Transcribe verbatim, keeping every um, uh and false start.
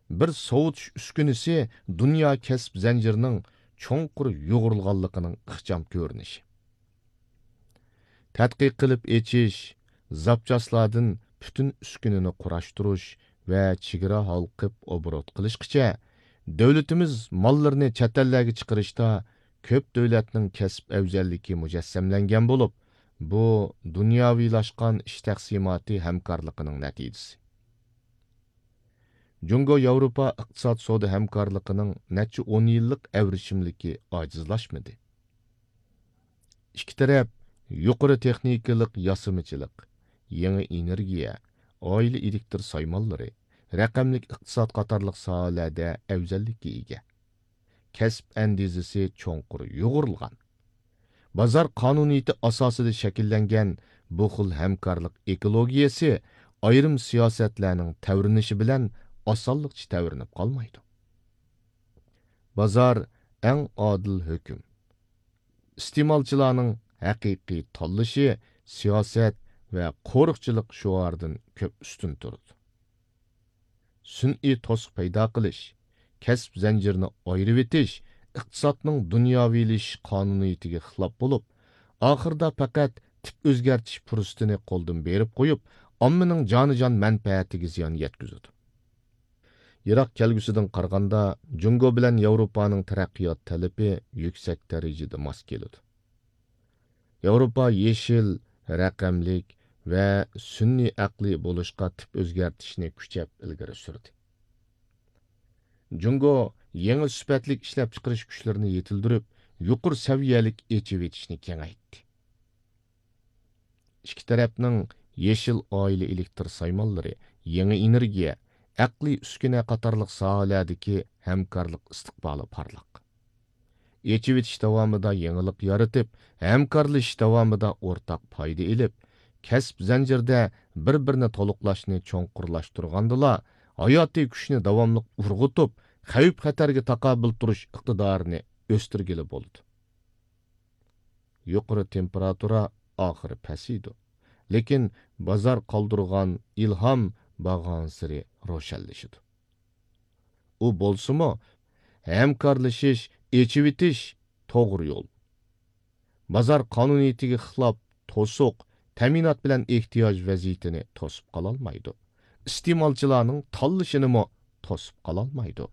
بىر سوۋۇتۇش ئۈسكۈنىسى دۇنيا كەسىپ زەنجىرىنىڭ چوڭقۇر يۇغۇرۇلغانلىقىنىڭ ئىخچام كۆرۈنۈشى. تەتقىق قىلىپ ئېچىش، زاپچاسلاردىن پۈتۈن ئۈسكۈنىنى قۇراشتۇرۇش ۋە چېگرا ھالقىپ ئوبوروت قىلىشقىچە، دۆلىتىمىز ماللىرىنى چەت ئەللەرگە چىقىرىشتا كۆپ دۆلەتنىڭ كەسىپ ئەۋزەللىكى مۇجەسسەملەنگەن بولۇپ، بۇ دۇنياۋىلاشقان ئىش تەقسىماتى ھەمكارلىقىنىڭ نەتىجىسى. جۇڭگو ياۋروپا ئىقتىساد سودا ھەمكارلىقىنىڭ نەچچە ئون يىللىق ئەۋرىشىملىكى ئاجىزلاشمىدى. ئىككى تەرەپ يۇقىرى تېخنىكىلىق ياسىمىچىلىق، يېڭى ئېنېرگىيە، ئائىلە ئېلېكتر سايمانلىرى، رەقەملىك ئىقتىساد قاتارلىق ساھەلەردە ئەۋزەللىككە ئىگە. كەسىپ ئەندىزىسى چوڭقۇر يۇغۇرۇلغان. بازار قانۇنىيىتى ئاساسىدا شەكىللەنگەن بۇ خىل ھەمكارلىق ئېكولوگىيەسى ئايرىم سىياسەتلەرنىڭ تەۋرىنىشى بىلەن ئاسانلىقچە تەۋرىنىپ قالمايدۇ. بازار ئەڭ ئادىل ھۆكۈم. ئىستېمالچىلارنىڭ ھەقىقىي تاللىشى سىياسەت ۋە قورۇقچىلىق شوئارىدىن كۆپ ئۈستۈن تۇرىدۇ. سۈنئىي توسۇق پەيدا قىلىش، كەسىپ زەنجىرىنى ئايرىۋېتىش ئىقتىسادنىڭ دۇنياۋىلىشىش قانۇنىيىتىگە خىلاپ بولۇپ، ئاخىرىدا پەقەت تىپ ئۆزگەرتىش پۇرسىتىنى قولدىن بېرىپ قويۇپ، ئاممىنىڭ جانىجان مەنپەئەتىگە زىيان يەتكۈزىدۇ. يىراق كەلگۈسىدىن قارىغاندا، جۇڭگو بىلەن ياۋروپانىڭ تەرەققىيات تەلىپى يۈكسەك دەرىجىدە ماس كېلىدۇ. ياۋروپا يېشىل، رەقەملىك ۋە سۈنئىي ئەقلىي بولۇشقا تىپ ئۆزگەرتىشنى كۈچەپ ئىلگىرى سۈردى. جۇڭگو يېڭى سۈپەتلىك ئىشلەپچىقىرىش كۈچلىرىنى يېتىلدۈرۈپ، يۇقىرى سەۋىيەلىك ئېچىۋېتىشنى كېڭەيتتى. ئىككى تەرەپنىڭ يېشىل ئائىلە ئېلېكتر سايمانلىرى، يېڭى ئېنېرگىيە، ئەقلىي ئۈسكۈنە قاتارلىق ساھەلەردىكى ھەمكارلىق ئىستىقبالى پارلاق. ئېچىۋېتىش داۋامىدا يېڭىلىق يارىتىپ، ھەمكارلىشىش داۋامىدا ئورتاق پايدا ئېلىپ، كەسىپ زەنجىرىدە بىر-بىرىنى تولۇقلاشنى چوڭقۇرلاشتۇرغاندىلا، ھاياتىي كۈچنى داۋاملىق ئۇرغۇتۇپ، خەۋپ-خەتەرگە تاقابىل تۇرۇش ئىقتىدارىنى ئۆستۈرگىلى بولىدۇ. يۇقىرى تېمپېراتۇرا ئاخىرى پەسىيىدۇ، لېكىن بازار قالدۇرغان ئىلھام بارغانسېرى روشەنلىشىدۇ. ئۇ بولسىمۇ، ھەمكارلىشىش، ئېچىۋېتىش توغرا يول. بازار قانۇنىيىتىگە خىلاپ توسۇق، تەمىنات بىلەن ئېھتىياج ۋەزىيىتىنى توسۇپ قالالمايدۇ. ئىستېمالچىلارنىڭ تاللىشىنىمۇ توسۇپ قالالمايدۇ.